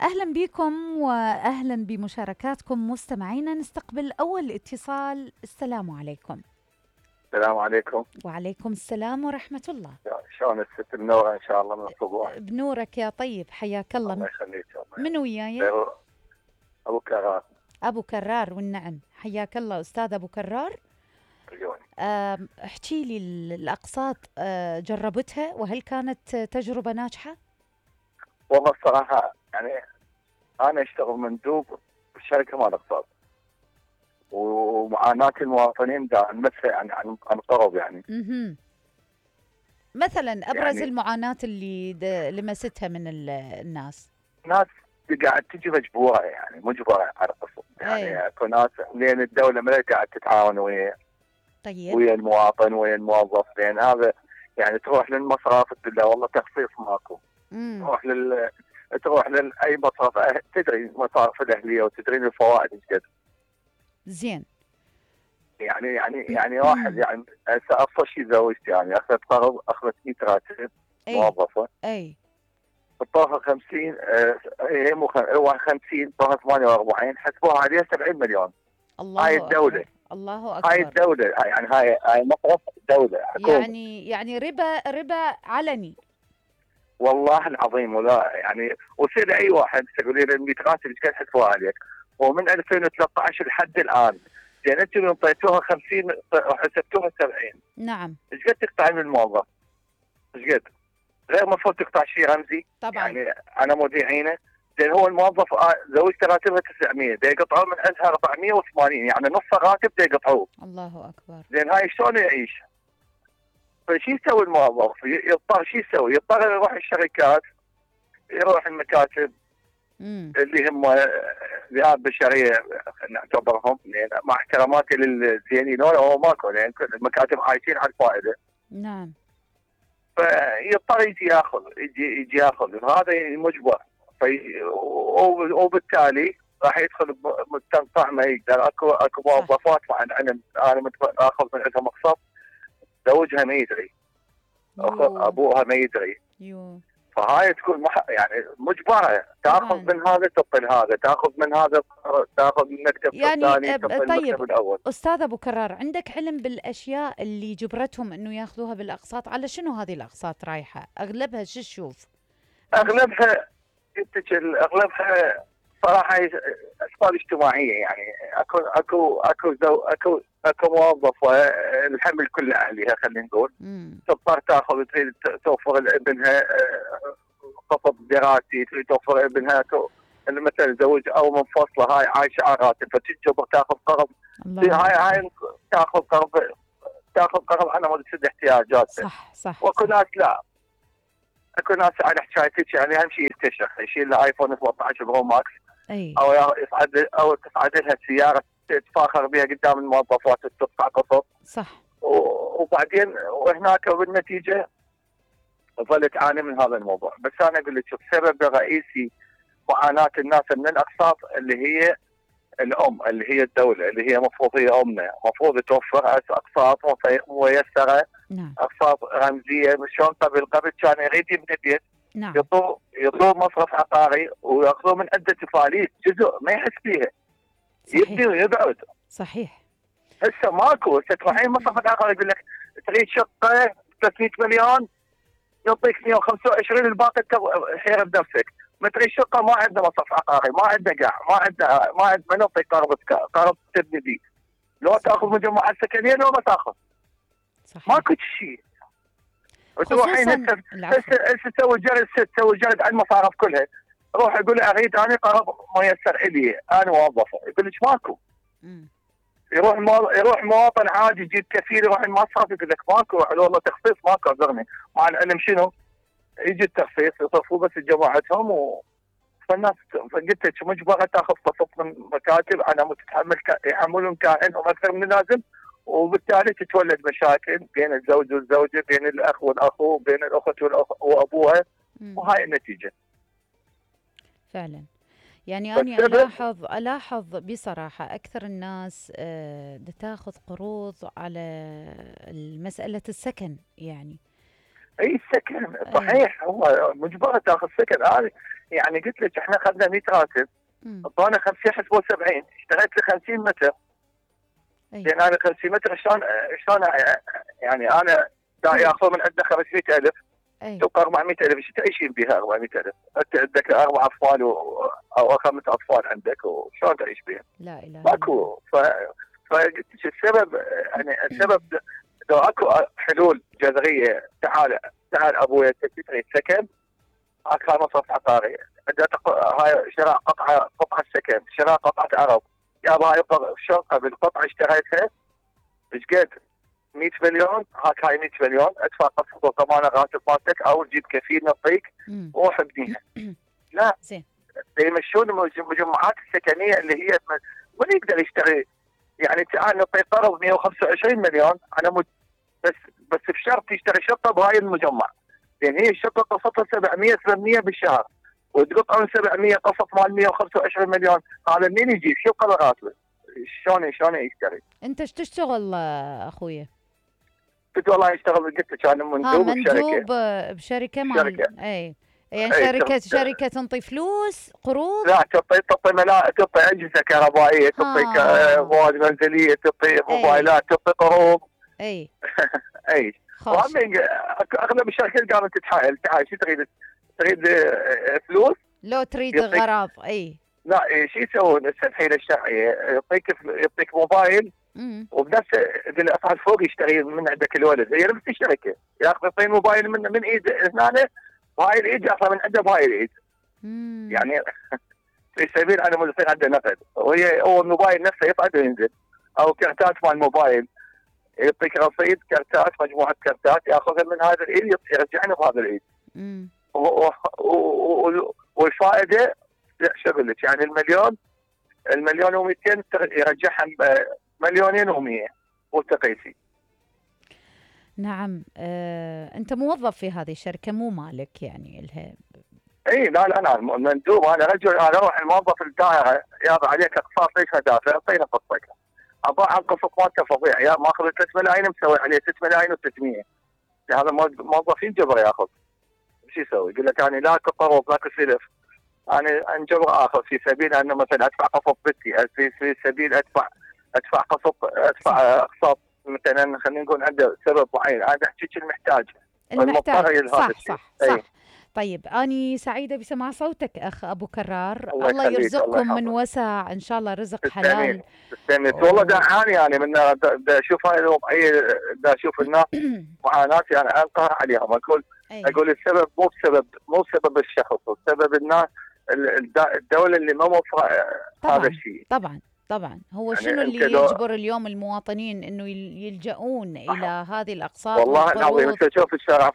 أهلا بكم وأهلا بمشاركاتكم مستمعينا. نستقبل أول اتصال. السلام عليكم. السلام عليكم. وعليكم السلام ورحمة الله. شلون الست منورة إن شاء الله من الصبح. بنورك يا طيب، حياك الله. الله يخليك. من وياي؟ أبو كرار. أبو كرار والنعم، حياك الله أستاذ أبو كرار. احكي لي الأقساط جربتها وهل كانت تجربة ناجحة؟ والله الصراحة يعني أنا أشتغل مندوب بشركة مال أقساط، ومعاناة المواطنين دا نمسها يعني عن قرب يعني. مثلا أبرز يعني المعاناة اللي لمستها من الناس. ناس قاعد تجي مجبورة، يعني مجبرة على القسط، يعني اكو ناس لين الدولة ما قاعد تتعاون ويا طيب ويا المواطن ويا الموظف، لان هذا يعني تروح للمصرف تقول له والله تخفيض ماكو. تروح لاي مصرف، تدري المصارف الاهليه وتدرين الفوائد ايش قد. زين. يعني واحد يعني هسه افضل شيء زوجتي يعني اخذت قرض، اخذت 100 راتب موظفه. طوها 50 هي مو 50 طوها 48 حسبوها عليها 70 مليون. الله هاي الدوله أكبر. الله اكبر. هاي الدوله يعني هاي مصرف دوله حكومه. يعني ربا علني. والله العظيم. ولا يعني وصير اي واحد تقولي له 100 راتب ايش قد حسبوها عليك؟ ومن 2013 لحد الان زين انتم انطيتوها 50 وحسبتوها 70. نعم. ايش قد تقطع من الموظف؟ ايش قد؟ غير المفروض تقطع شيء رمزي. طبعا. يعني انا مذيعينه زين هو الموظف زوجته راتبها 900 دا يقطعوا من عندها 480، يعني نص راتب دا يقطعوه. الله اكبر. زين هاي شلون يعيش؟ فشو يسوي الموظف؟ يضطر شو يسوي؟ يضطر يروح الشركات، يروح المكاتب اللي هم ذئاب بشريه نعتبرهم، مع احتراماتي للزينين هو ماكو، لان المكاتب عايشين على الفائده. نعم. فيضطر يجي ياخذ هذا مجبر. وبالتالي راح يدخل مستنقع ما يقدر. اكو موظفات مع العلم انا اخذ من عندها مقصد، زوجها ما يدري، ابوها ما يدري. فهاي تكون يعني مجبره تاخذ من هذا تطل هذا، تاخذ من هذا تاخذ من المكتب الثاني تطل المكتب الاول. استاذ ابو كرار، عندك علم بالاشياء اللي جبرتهم انه ياخذوها بالاقساط؟ على شنو هذه الاقساط رايحه؟ اغلبها شو تشوف؟ اغلبها صراحه اسباب اجتماعيه، يعني اكو موظفه الحمل كله عليها خلينا نقول، تضطر تاخذ تريد توفر لابنها خطب دراسي، تريد توفر لابنها مثلا زوج او منفصله، هاي عايشه على راتب فتجبر تاخذ قرض. هاي تاخذ قرض على مود تسد احتياجاتها. صح. واكو ناس لا، اكو ناس على حكايتك يعني اهم شيء يستشرف، يشيل له ايفون 17 برو ماكس او تصعد لها سياره تتفاخر بها قدام الموظفات وتدفع قسط. صح. وبعدين وهناك بالنتيجه ظلت تعاني من هذا الموضوع. بس انا اقول لك السبب الرئيسي معاناه الناس من الاقساط اللي هي الام، اللي هي الدوله، اللي هي مفروض هي امنا، مفروض توفر اقساط ميسره. نعم. اقساط رمزيه. شلون قبل كان يريد يبني بيت. نعم. يطلب مصرف عقاري وياخذوه من عنده تفاليس جزء ما يحس فيها. يبني ويقعد. صحيح. هسه ماكو. هسه تروحين مصرف العقاري يقول لك تريد شقه 300 مليون يعطيك 125 الباقي حيره بنفسك. ما تريد شقه ما عندنا مصرف عقاري، ما عندنا قاع، ما عندنا ما نعطيك قرض تبني بيه. لو تاخذ مجموعه سكنيه لو ما تاخذ. صحيح. ماكو شيء. وتروحين هسه تسوي جلد على المصارف كلها. روح اقول له اريد انا قرض ميسر الي انا موظفه، يقول لك ماكو. يروح مواطن عادي يجيب كفيل يروح المصرف يقول لك ماكو، والله تخفيض ماكو اعذرني. مع العلم شنو؟ يجي التخفيض يصرفوا بس جماعتهم فالناس قلت لك مجبره تاخذ قسط من مكاتب على مود تتحمل يحملون كائنهم اكثر من اللازم، وبالتالي تتولد مشاكل بين الزوج والزوجه، بين الاخ والاخو، بين الاخت وابوها. وهاي النتيجه. فعلا. يعني أنا ألاحظ بصراحة أكثر الناس تاخذ قروض على مسألة السكن يعني. أي السكن صحيح. هو مجبرة تاخذ سكن. يعني قلت لك احنا اخذنا 100 راتب، اعطونا 50 حسبوا 70، اشتريت لي 50 متر. لان انا 50 متر شلون يعني انا ياخذ من عندنا 500,000 تبقى 400,000، ايش تعيشين بها 400,000؟ انت عندك 4 اطفال او 5 اطفال عندك، وشلون تعيش بها؟ لا اله ماكو. فقلت لك السبب، يعني السبب لو اكو حلول جذريه. تعال ابوي انت تريد سكن، اكو مصرف عقاري، هاي شراء قطعه سكن، شراء قطعه عرب. يابا هاي الشقه بالقطعه اشتريتها ايش قد؟ 100 مليون، هاك هاي 100 مليون، ادفع قسط وضمان الراتب مالتك او تجيب كفيل نعطيك وروح ابنيها. لا زين يمشون المجمعات السكنيه اللي هي من يقدر يشتري. يعني تعال نعطي قرض 125 مليون على بس بشرط يشتري شقه بهاي المجمع، لان هي الشقه قسطها 700 800 بالشهر، وتقطعون 700 قسط مال 125 مليون، هذا منين يجيب؟ شو قدر راتبه؟ شلون يشتري؟ انت ايش تشتغل اخويا؟ قلت والله اشتغل، قلت لك انا مندوب بشركه مال اي يعني شركه تنطي فلوس قروض؟ لا تعطي اجهزه كهربائيه، تعطي مواد منزليه، تعطي موبايلات، تعطي قروض. اي اي اغلب الشركات قامت تتحايل، تعال شو تريد فلوس؟ لو تريد غراض. اي لا شو يسوون التسهيل الشرعيه، يعطيك موبايل وبنفس الاسعار فوق يشتري من عندك الولد، هي نفس الشركه ياخذ يعطيه موبايل من ايد هنا، وهاي الايد ياخذ من عنده بهاي الايد. يعني في سبيل انا مو يصير عنده نقد، هو الموبايل نفسه يصعد وينزل، او كرتات مال الموبايل يعطيك رصيد كرتات، مجموعه كرتات ياخذها من هذا الايد يرجعنا بهذا الايد. والفائده شو اقول لك، يعني المليون و200 يرجعها مليونين و100 وتقيسي. نعم. انت موظف في هذه الشركه مو مالك يعني لها؟ اي لا انا مندوب، انا رجل، انا اروح الموظف الدائره، يابا عليك اقساط ليش ما دافع؟ اعطينا قسطك. ابا القسط مالته فظيع، يا ماخذ 3 ملايين مسوي عليه 6 ملايين و600. هذا موظفين جبر ياخذ، شو يسوي؟ يقول لك انا لا قروض لا سلف، انا انجبر اخذ في سبيل انه مثلا ادفع قسط بنتي، في سبيل ادفع اقساط مثلا، خلينا نقول عنده سبب معين، انا احكيك المحتاج. صح. طيب أنا سعيدة بسماع صوتك أخ أبو كرار، الله يرزقكم من وسع إن شاء الله، رزق حلال. تستميت والله. دعاني يعني من اشوف هاي الوضعية، اشوف الناس معاناتي، انا انقهر عليهم، اقول السبب مو بسبب الشخص، السبب الناس، الدولة اللي ما موفرة هذا الشيء. طبعا هو يعني شنو اللي يجبر اليوم المواطنين انه يلجؤون الى هذه الاقساط؟ والله العظيم انت شوف شارع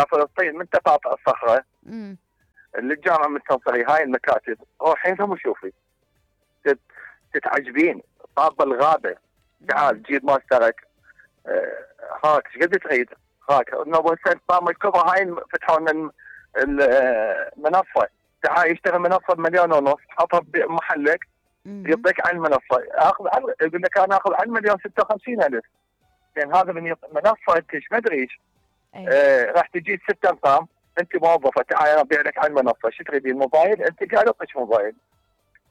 فلسطين من تقاطع الصخره للجامعه من تنصري، هاي المكاتب روحين ثم شوفي تتعجبين. طاب الغابه، تعال جيب ماسترك، هاك ايش قد تريد؟ هاك ابو حسين طام الكبرى، هاي فتحوا لنا المنصه، تعال يشتغل منصه ب1.5 مليون، حطها بمحلك يعطيك عن المنصه، يقول لك انا اخذ عن 1,56,000. يعني هذا من منصه انت ايش ما ادري ايش. راح تجي 6 ارقام، انت موظفه، تعال انا ابيع لك عن المنصه، شو تريدين؟ موبايل؟ انت قاعد اعطيك موبايل،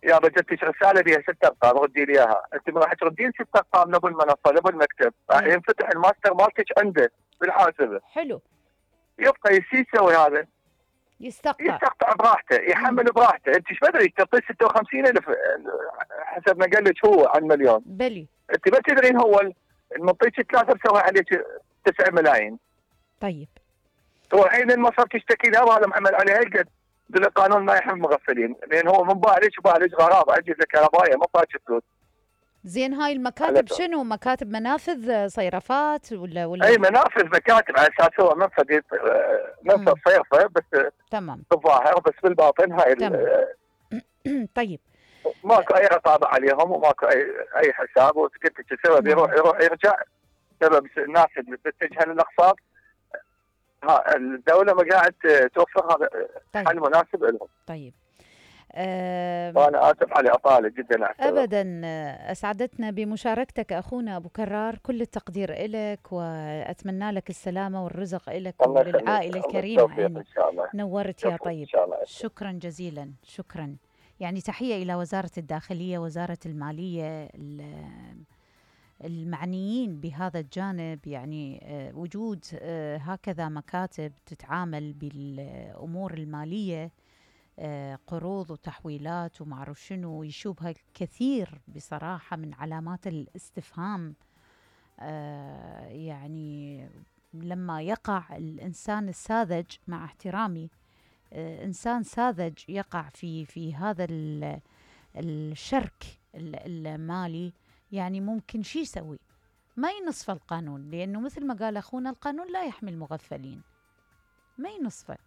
يا جتك رساله بها 6 ارقام ردي لي اياها، انت راح تردين 6 ارقام لابو المنصه لابو المكتب، راح ينفتح الماستر مالتك عنده بالحاسبه. حلو. يبقى يسوي هذا، يستقطع براحته، يحمل براحته، انت ايش بدري تعطيه 56,000 حسب ما قال لك هو عن مليون. بلي انت ما تدرين هو المعطيك 3 مسوي عليك 9 ملايين. طيب تروحين المصرف تشتكي له، هذا محمل عليه هالقد، القانون ما يحمي المغفلين، لان هو من بالج غراب اجهزه كهربائيه ما طاش فلوس. زين هاي المكاتب شنو؟ مكاتب منافذ صيرفات ولا اي منافذ مكاتب، على اساس هو منفذ صيرفه بس تمام بالظاهر، بس بالباطن هاي طيب ماكو اي رقابه عليهم وماكو اي حساب، وقلت لك السبب يروح يرجع، سبب الناس اللي تتجه للاقساط الدوله ما قاعد توفر هذا حل مناسب لهم. طيب وأنا آسف على إطالة جدا أعتذر. أبدا، أسعدتنا بمشاركتك أخونا أبو كرار، كل التقدير إلك، وأتمنى لك السلامة والرزق إلك وللعائلة الكريمة. يعني إن شاء الله. نورت يا طيب. إن شاء الله. شكرا جزيلا، شكرا. يعني تحية إلى وزارة الداخلية، وزارة المالية، المعنيين بهذا الجانب. يعني وجود هكذا مكاتب تتعامل بالأمور المالية، قروض وتحويلات وما أعرف شنو، يشوبها كثير بصراحة من علامات الاستفهام. يعني لما يقع الإنسان الساذج، مع احترامي، إنسان ساذج يقع في هذا الشرك المالي، يعني ممكن شي يسوي؟ ما ينصف القانون، لأنه مثل ما قال أخونا القانون لا يحمي المغفلين، ما ينصفه.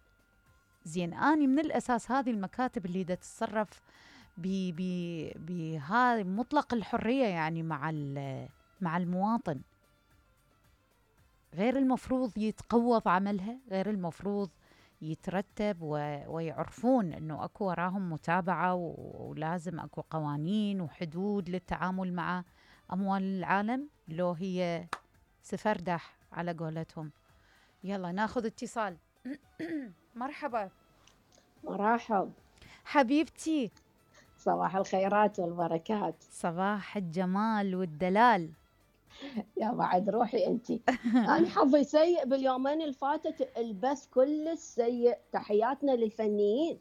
زين، أني من الأساس هذه المكاتب اللي دا تتصرف بهذا مطلق الحرية يعني مع المواطن، غير المفروض يتقوض عملها، غير المفروض يترتب ويعرفون أنه أكو وراهم متابعة، ولازم أكو قوانين وحدود للتعامل مع أموال العالم، لو هي سفردح على قولتهم. يلا ناخذ اتصال. مرحبا. مرحب حبيبتي. صباح الخيرات والبركات. صباح الجمال والدلال. يا بعد روحي انتي. انا حظي سيء باليومين اللي فاتت، البث كل سيء. تحياتنا للفنيين.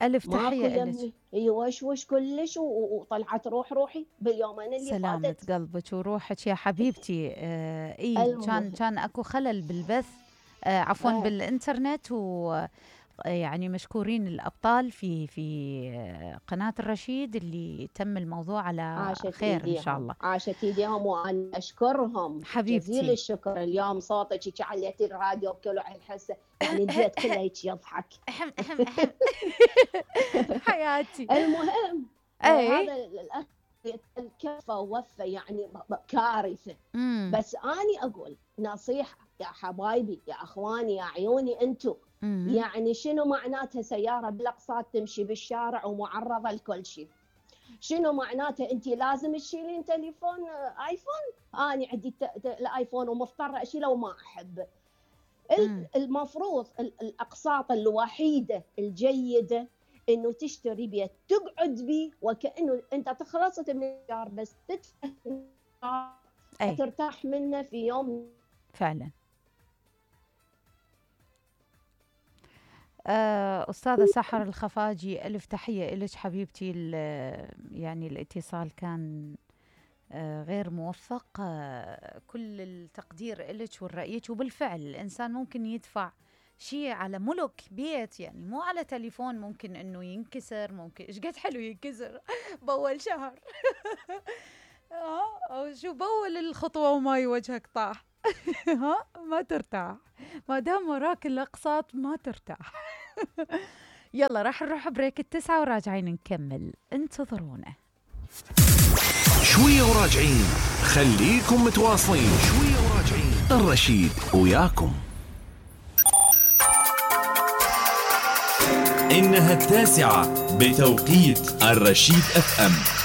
الف تحيه لك. اي وش كلش، وطلعت روحي باليومين اللي سلامة فاتت. قلبك وروحك يا حبيبتي. اي كان اكو خلل بالبث، عفوا بالانترنت، يعني مشكورين الأبطال في قناة الرشيد اللي تم الموضوع على خير إن شاء الله. عاشت ايديهم وأنا أشكرهم حبيبتي، جزيل الشكر. اليوم صوتك عليتي الراديو بكل الحسة، يعني البيت كله هيك يضحك. حياتي. المهم هذا الأخ كفى ووفى، يعني كارثة. بس أنا أقول نصيحة يا حبايبي، يا أخواني، يا عيوني أنتو، يعني شنو معناتها سيارة بالأقساط تمشي بالشارع ومعرضة لكل شيء؟ شنو معناتها أنت لازم تشيلين تليفون آيفون؟ أنا عندي الآيفون ومضطرة أشيله وما أحب. المفروض الأقساط الوحيدة الجيدة إنه تشتري بيت تقعد بيه، وكأنه أنت تخلصت من الإيجار بس تدفع ترتاح منه في يوم. فعلا. أستاذة سحر الخفاجي، ألف تحية إلك حبيبتي. يعني الاتصال كان غير موفق، كل التقدير إلك والرأيك. وبالفعل الإنسان ممكن يدفع شيء على ملك بيت، يعني مو على تليفون، ممكن إنه ينكسر، ممكن إيش قد حلو ينكسر بأول شهر. شو بأول الخطوة وما وجهك طاح. ما ترتاح ما دام وراك الأقساط، ما ترتاح. يلا راح نروح بريك 9 وراجعين نكمل، انتظرونا شوية وراجعين. خليكم متواصلين، شوية وراجعين. الرشيد وياكم. إنها 9 بتوقيت الرشيد FM.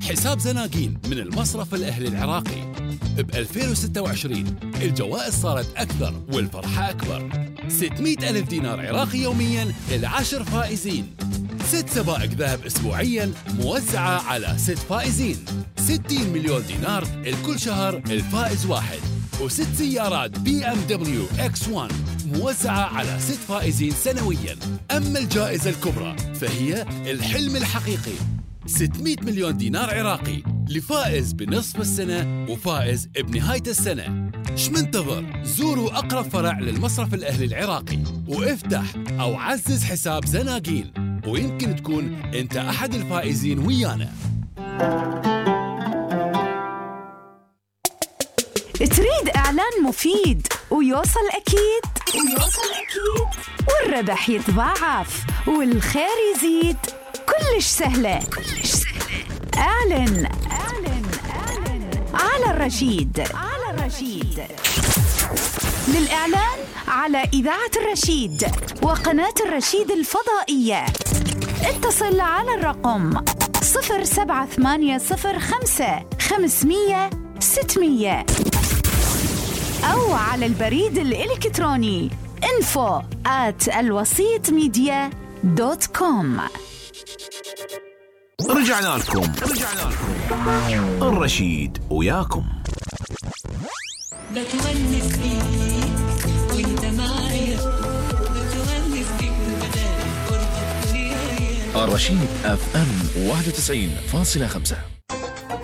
حساب زناقين من المصرف الأهلي العراقي. ب 2026 الجوائز صارت أكثر والفرحة أكبر. 600,000 دينار عراقي يومياً ل10 فائزين. 6 سبائك ذهب أسبوعياً موزعة على 6 فائزين. 60 مليون دينار لكل شهر الفائز واحد. و6 سيارات BMW X1 موزعة على 6 فائزين سنوياً. أما الجائزة الكبرى فهي الحلم الحقيقي، 600 مليون دينار عراقي لفائز بنصف السنة وفائز بنهاية السنة. ايش منتظر؟ زوروا أقرب فرع للمصرف الأهلي العراقي وافتح أو عزز حساب زناقين، ويمكن تكون أنت أحد الفائزين ويانا. تريد إعلان مفيد ويوصل أكيد والربح يتضاعف والخير يزيد؟ كلش سهلة. اعلن على الرشيد. للإعلان على إذاعة الرشيد وقناة الرشيد الفضائية اتصل على الرقم 07805 500 600 أو على البريد الإلكتروني info@alwasitmedia.com. رجعنا لكم الرشيد وياكم. بتونس بيك وانت معايا، بتونس بيك بدالي قربك ويايا. الرشيد FM 91.5.